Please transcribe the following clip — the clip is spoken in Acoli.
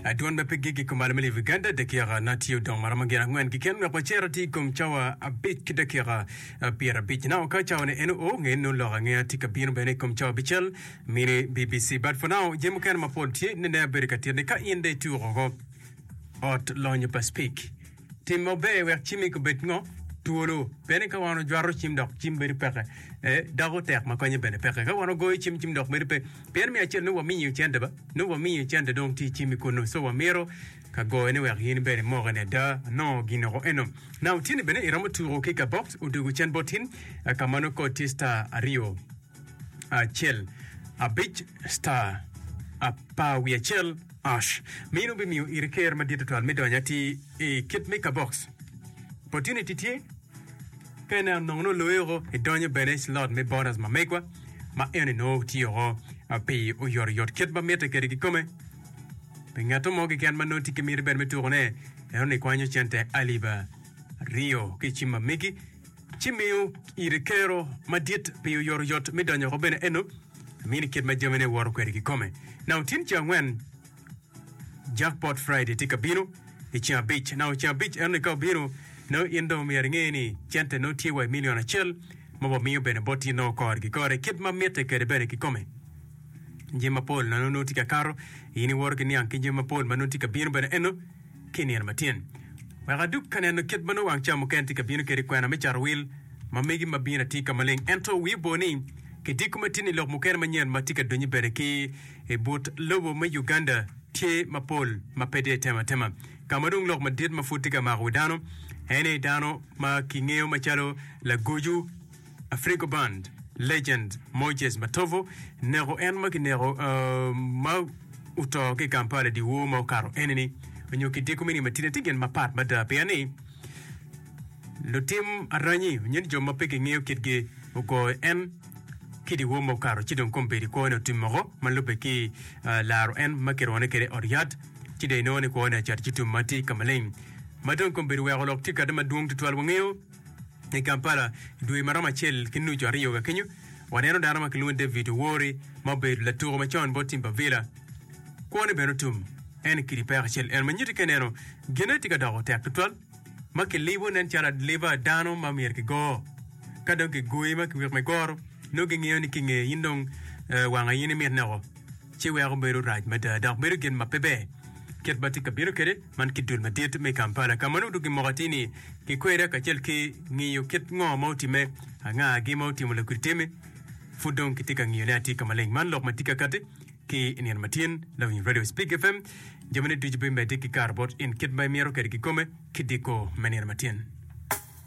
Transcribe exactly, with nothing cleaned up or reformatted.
Adwon ma pe gik i kom malo me lobo Uganda dakika na tye odong ma romo gin angwen keken wek wacito atir i kom cawa abic ki dakika pyerabic. Now ka cawa ni eno oo nge nongo lok angeya tye ka bino bene i kom cawa abicel mini B B C. But for now jami mukene mapol tye nene abedo ka tito ni ka in dong ituko oko ot lonyo pa Speke Tim maber wek cimmi obed ngo? Twolo. Pien ni ka wan ojwato cim dok cim bedo peke, eh, doko tek ma konye bene peke. Ka wan ogoyo cim, cim dok bedo pe. Pien me acel nongo wamiyo cente ba, nongo wamiyo cente dong tye i cimmi kunnu. So wamito ka goyo ni wek in bene imoke ni ada anongo ginoko eno. Now tye-ni bene iromo tuko ki ka box odwogo cen bot in ka ma nongo kod tye star aryo acel abic star apar wiye acel ash. Meno bimiyo iri ker madit tutwal me donyo atir i kit me kabox. Opportunity tye ka ineno nongo nongo oloyi oko idonyo bene i slot me bonus ma megwa ma eni nongo tye oko pi oyotoyot kit ma mitte kwede kikome. Pi ngatto mo keken ma nongo tye ki miti bene me tukone, eno ni kwanyo cente alip aryo ki i cim ma megi ci miyo iri kero madit pi oyotoyot me donyo oko bene eno mini kit ma jamine woto kwede kikome. Now tin ceng angwen Jackpot Friday tye ka bino i ceng abic. Now ceng abic eno ni ka obino nongo in dong myero inge ni cente nongo tye wa i million acel ma wamiyo bene bot in nongo kore ki kore kit ma mitte kwede bene kikome. Jami mapol ma nongo tye ka kato in iwoto ki niang ki jami mapol ma nongo tye ka bino bene eno ki i nino matyen. Wek adug ka neno kit ma nongo wang ca mukene tye ka bino kwede kwena me cato wil ma megi ma bino atir ka maleng. Ento wii opo ni kidiko ma tye ni lok mukene manyen ma tye ka donyo bene ki i but lobo me Uganda tye mapol ma pe tye itemo atema. Ka ma dong lok madit ma pud tye ka mako wi dano en aye dano ma kingeyo macalo Lagoju Afrigo Band Legend Moses Matovu neko en ma kineko ma oto ki i Kampala i dyewor ma okato eni-ni onyo kidiko me nino matidi tye gin mapat mada pien ni lutim aranyi onyo ni jo ma pe kingeyo kitgi ogoyo en ki dyewor ma okato ci dong kombeddi kwone otim moko ma lubbe ki laro en ma kirwone kwede i ot yat ci dong inongo ni kwone ocato ci tum ma tye ka maleng ma dong kombeddi oweko lok tye kade madwong tutwal wangeyo i Kampala i dwe ma romo acel ki nucu aryo ka kenyo waneno dano ma kilwongo ni David Owori ma obedo latuko macon bot tim pa Villa kwone bene otum en i kidi peko acel en ma nyutti ka ineno gine tye ka doko tek tutwal ma kilibo nen calo aliba dano ma myero kigo. Ka dong kigoyi ma kiweko me goro, nongo gingeyo ni ki nge in dong wanga in imit neko, ci weko bedo rac mada dok bedo gin ma pe ber. Kit ma tye ka bino kwede man ki dul madit me Kampala ka ma nongo dong gimoko atir ni kikweda kacel ki ngiyo kit ngo ma otimme, angagi ma otimo lakwidi teme, pud dong kitye ka ngiyone atir ka maleng. Man lok ma tye ka kati ki i nino matin. Lawiny Radio Speak F M, jamine ducu bimedde ki kato bot in kit ma imito kwede kikome ki diko me nino matin.